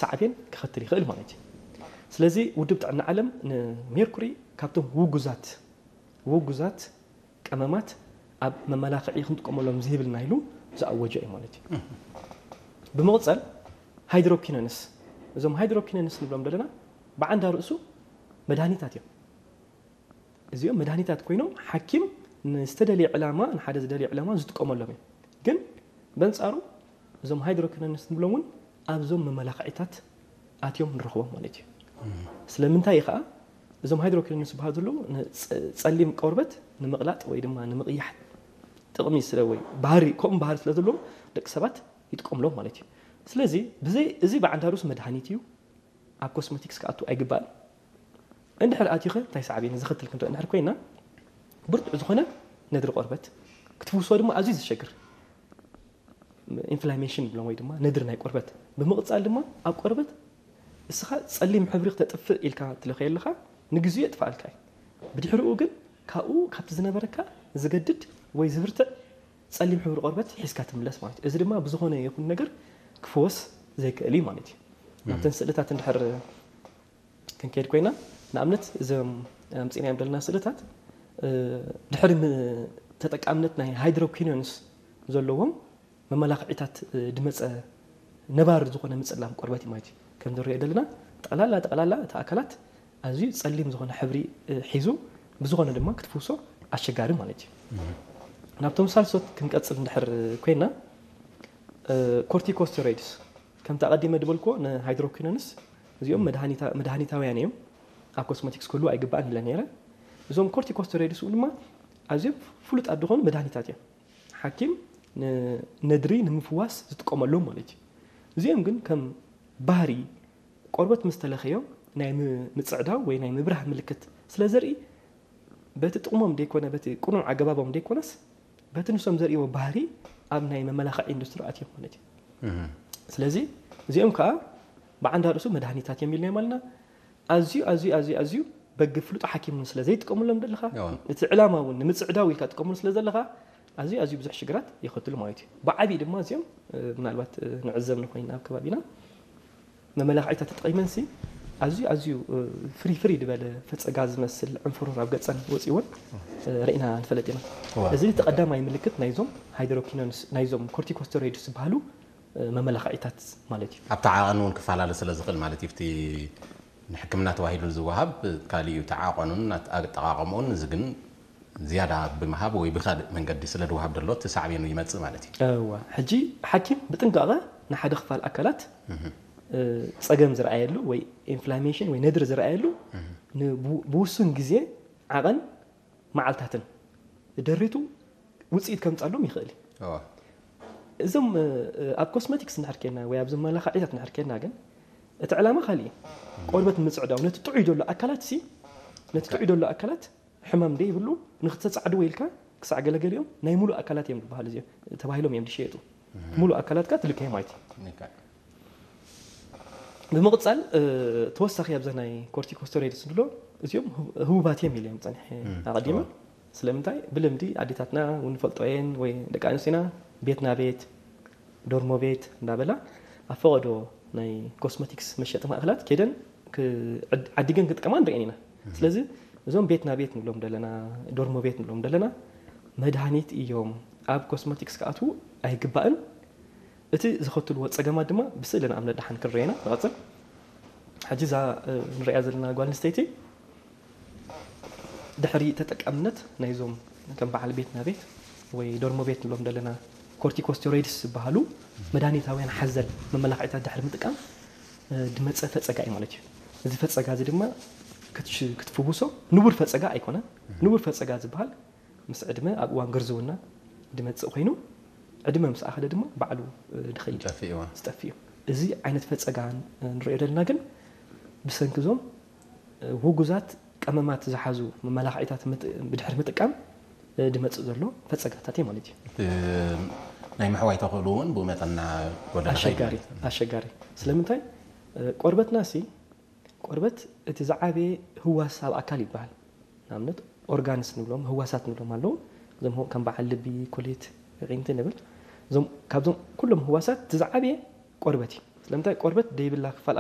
ሳዕቤን ክኸትል ይኽእል ማለት እዩ። ስለዚ ውድብ ጥዕና ዓለም ንሜርኩሪ ካብቶም ውጉዛት ውጉዛት ቀመማት ኣብ መመላኽዒ ክንጥቀመሎም ዝህብልና ኢሉ ዝኣወጀ እዩ ማለት እዩ። ብምቕፀል ሃይድሮኪኖንስ፣ እዞም ሃይድሮኪኖንስ ንብሎም ዘለና ብዓንዳ ርእሱ መድሃኒታት እዮም። እዚኦም መድሃኒታት ኮይኖም ሓኪም ንዝተደለየ ዕላማ ንሓደ ዝደለየ ዕላማ ዝጥቀመሎም እዮም። ግን በንፃሩ እዞም ሃይድሮኪኖንስ ንብሎም እውን ኣብዞም መመላኽዒታት ኣትዮም ንረኽቦም ማለት እዩ። ስለምንታይ እዩ ከዓ እዞም ሃይድሮኪኖንስ ዝበሃሉ ዘለዉ ንፀሊም ቆርበት ንምቕላጥ ወይ ድማ ንምቕያሕ ጥቕሚ ስለ ወይ ባህሪ ከምኡ ባህሪ ስለ ዘለዎም ደቂ ሰባት ይጥቀምሎም ማለት እዩ። ስለዚ ብዘይ እዚ ብዓንዳሩስ መድሃኒት እዩ፣ ኣብ ኮስሞቲክስ ክኣቱ ኣይግባእን። እንድሕር ኣትዩ ኸ እንታይ ሳዕቤን ዘኸትል ክንርኢ እንድሕር ኮይና ብርቱዕ ዝኾነ ነድሪ ቆርበት ክትፍውሶ ድማ ኣዝዩ ዘሸግር ኢንፍላሜሽን ብሎም ወይ ድማ ነድሪ ናይ ቆርበት ብምቕፃል ድማ ኣብ ቆርበት እስኻ ፀሊም ሕብሪ ክተጥፍእ ኢልካ ትለኸየ ኣለኻ ንግዜኡ የጥፍኣልካ እዩ። ብድሕሪኡ ግን ካብኡ ካብቲ ዝነበረካ ዝገድድ ወይ ዝብርትዕ ፀሊም ሕብሪ ቆርበት ሒዝካ ትምለስ ማለት እዩ። እዚ ድማ ብዝኾነ ይኹን ነገር ክፍወስ ዘይክእል እዩ ማለት እዩ። ናብተን ስእልታት እንድሕር ክንከይድ ኮይና ንኣብነት እዞም ኣምፂናዮም ዘለና ስእልታት ድሕሪ ተጠቃምነት ናይ ሃይድሮኪኖንስ ዘለዎም መመላኽዒታት ድመፀ ነባር ዝኾነ ምፅላም ቆርበት እዩ ማለት እዩ። ከም ንሪኦ ዘለና ጠቕላላ ጠቕላላ እቲ ኣካላት ኣዝዩ ፀሊም ዝኾነ ሕብሪ ሒዙ ብዝኾነ ድማ ክትፍውሶ ኣሸጋሪ ማለት እዩ። ናብቶም ሳልሶት ክንቀፅል እንድሕር ኮይና ኮርቲኮስቴሮይድስ ከምቲ ኣቐዲመ ድበልክዎ ንሃይድሮኪኖንስ እዚኦም መድሃኒታውያን እዮም። ኣብ ኮስሞቲክስ ክህሉ ኣይግባእን ኢለ ነይረ። እዞም ኮርቲኮስቴሮይድስ እውን ድማ ኣዝዮም ፍሉጣት ዝኾኑ መድሃኒታት እዮም። ሓኪም ነድሪ ንምፍዋስ ዝጥቀመሎም ማለት እዩ። እዚኦም ግን ከም ባህሪ ቆርበት ምስ ተለኸዮም ናይ ምፅዕዳው ወይ ናይ ምብራህ ምልክት ስለ ዘርኢ በቲ ጥቕሞም ደይኮነ በቲ ቅኑዕ ኣገባቦም ደይኮነስ በቲ ንሶም ዘርእዎ ባህሪ ኣብ ናይ መመላኽዒ ኢንዱስትሪ ኣትዮም ማለት እዩ። ስለዚ እዚኦም ከዓ ብዓንዳ ርእሱ መድሃኒታት እዮም ኢልናዮም ኣለና። ኣዝዩ ኣዝዩ ኣዝዩ ኣዝዩ በግ ፍሉጥ ሓኪም እውን ስለ ዘይጥቀምሎም ዘለኻ እቲ ዕላማ እውን ንምፅዕዳው ኢልካ ጥቀምሉ ስለ ዘለኻ ኣዝዩ ኣዝዩ ብዙሕ ሽግራት የኸትሉ ማለት እዩ። ብዓብዪ ድማ እዚኦም ምናልባት ንዕዘብ ንኮይና ኣብ ከባቢና መመላኽዒታት ተጠቒመንሲ ኣዝዩ ኣዝዩ ፍሪ ፍሪ ዝበለ ፈፀጋ ዝመስል ዕንፍሩር ኣብ ገፀን ወፂእዎን ርኢና ንፈልጥ ኢና። እዚ እቲ ቀዳማይ ምልክት ናይዞም ሃይድሮኪኖንስ ናይዞም ኮርቲኮስቴሮይድስ ዝበሃሉ መመላኽዒታት ማለት እዩ። ኣብቲ ዓቐን እውን ክፈላለ ስለ ዝኽእል ማለት እዩ። እቲ ንሕክምና ተባሂሉ ዝወሃብ ካልእ እዩ። እቲ ዓቐኑን ኣጠቓቐምኡን እዚ ግን ዝያዳ ብምሃብ ወይ ብካልእ መንገዲ ስለ ዝወሃብ ዘሎ እቲ ሳዕቤኑ ይመጽእ ማለት እዩ። እዋ ሕጂ ሓኪም ብጥንቃቐ ንሓደ ክፋል ኣካላት ጸገም ዝረኣየሉ ወይ ኢንፍላሜሽን ወይ ነድሪ ዝረኣየሉ ብውሱን ግዜ ዓቐን መዓልታትን ደሪቱ ውፅኢት ከምፃሎም ይኽእል እዩ። እዞም ኣብ ኮስመቲክስ እንድሕር ኬድና ወይ ኣብ መመላኽዒታት እንድሕር ኬድና ግን እቲ ዕላማ ካልእ እዩ። ቆርበት ንምፅዕዳው ነቲ ጥዑይ ዘሎ ኣካላት ሲ ነቲ ጥዑይ ዘሎ ኣካላት ሕማም ደይብሉ ንክተፃዕድዎ ኢልካ ክሳዕ ገለገሊኦም ናይ ሙሉእ ኣካላት እዮም ዝበሃሉ እዚኦም ተባሂሎም እዮም ዝሸየጡ። ሙሉእ ኣካላትካ ትልከ ማለት እዩ። ብምቕፃል ተወሳኺ ኣብዛ ናይ ኮርቲኮስቴሮይድስ ንብሎ እዚኦም ህቡባት እዮም ኢለ እዮም ፀኒሐ ኣቐዲመ። ስለምንታይ ብልምዲ ኣዴታትና እውን ንፈልጦ እየን ወይ ደቂ ኣንስትዮና ቤት ና ቤት ዶርሞ ቤት እንዳበላ ኣብ ፈቐዶ ናይ ኮስሞቲክስ መሸጢ ማእኸላት ከይደን ዓዲገን ክጥቀማ ንሪአን ኢና። ስለዚ እዞም ቤት ና ቤት ንብሎም ደለና ዶርሞ ቤት ንብሎም ደለና መድሃኒት እዮም። ኣብ ኮስሞቲክስ ክኣትዉ ኣይግባእን። እቲ ዝኸትልዎ ጸገማት ድማ ብስእሊ ንኣብነት ደሓን ክንሪኦ ኢና። ንቐጽል። ሕጂ እዛ ንሪኣ ዘለና ጓል ኣንስተይቲ ድሕሪ ተጠቃምነት ናይዞም ከም በዓል ቤት ና ቤት ወይ ዶርሞ ቤት ንብሎም ዘለና ኮርቲኮስቴሮይድስ ዝበሃሉ መድሃኒታውያን ሓዘል መመላኽዒታት ድሕሪ ምጥቃም ድመጸ ፈጸጋ እዩ ማለት እዩ። እዚ ፈጸጋ እዚ ድማ ክትፍውሶ ንቡር ፈጸጋ ኣይኮነን። ንቡር ፈጸጋ ዝበሃል ምስ ዕድመ ኣብ እዋን ግርዝውና ድመጽእ ኮይኑ ዕድመ ምስ ኣኸለ ድማ ባዕሉ ድኸይድ ዝጠፍእ እዩ። እዚ ዓይነት ፈጸጋ ንሪኦ ዘለና ግን ብሰንኪ እዞም ውጉዛት ቀመማት ዝሓዙ መመላኽዒታት ብድሕሪ ምጥቃም ድመጽእ ዘሎ ፈጸጋታት እዩ ማለት እዩ። ናይ ምሕዋይ ተኽእሉ እውን ብኡ መጠን እናጎደለ ይኸይድ ኣሸጋሪ ማለት እዩ። ኣሸጋሪ ስለምንታይ ቆርበትና ሲ ቆርበት እቲ ዝዓበየ ህዋስ ኣብ ኣካል ይበሃል። ንኣብነት ኦርጋንስ ንብሎም ህዋሳት ንብሎም ኣለዉ። እዞም ከም በዓል ልቢ፣ ኩሊት፣ ዕዒንቲ ንብል። እዞም ካብዞም ኩሎም ህዋሳት እቲ ዝዓበየ ቆርበት እዩ። ንምንታይ ቆርበት ደይብላ ክፋል